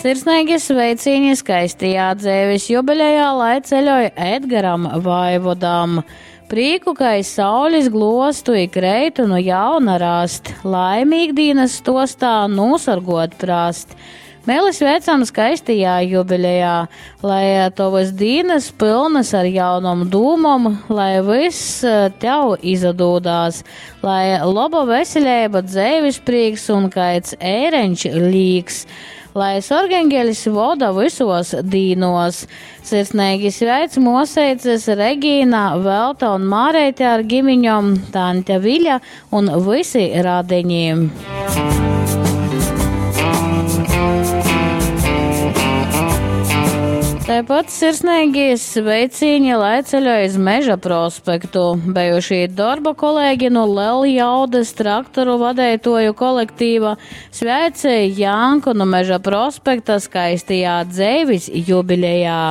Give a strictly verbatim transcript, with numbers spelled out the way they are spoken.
Sirsneigi sveicīni skaistajā dzeivis jubilejā, lai ceļoj Edgaram Vaivodam. Prīku, kai saulis glostu i kreitu nu jauna rast, laimi ikdīnas stostā nūsorgot prast. Mēli sveicam skaistajā jubilejā, lai tovas dīnas pylnas ar jaunom dūmom, lai vyss tev izadūdās, lai loba veseleiba, dzeivis prīks un kaids ēreņš līks, lai sorgeņgeļs voda vysos dīnos. Sirsneigi sveic moseices Regīna, Velta un Māreite ar gimiņom, tante Viļa un vysi radeņi. Tāpat sirsnīgi sveicīņi, lai ceļo iz Meža prospektu. Bijušī darba kolēģi no Leljaudas traktoru vadētoju kolektīva sveic Janku no Meža prospekta skaistajā dzeivis jubilejā.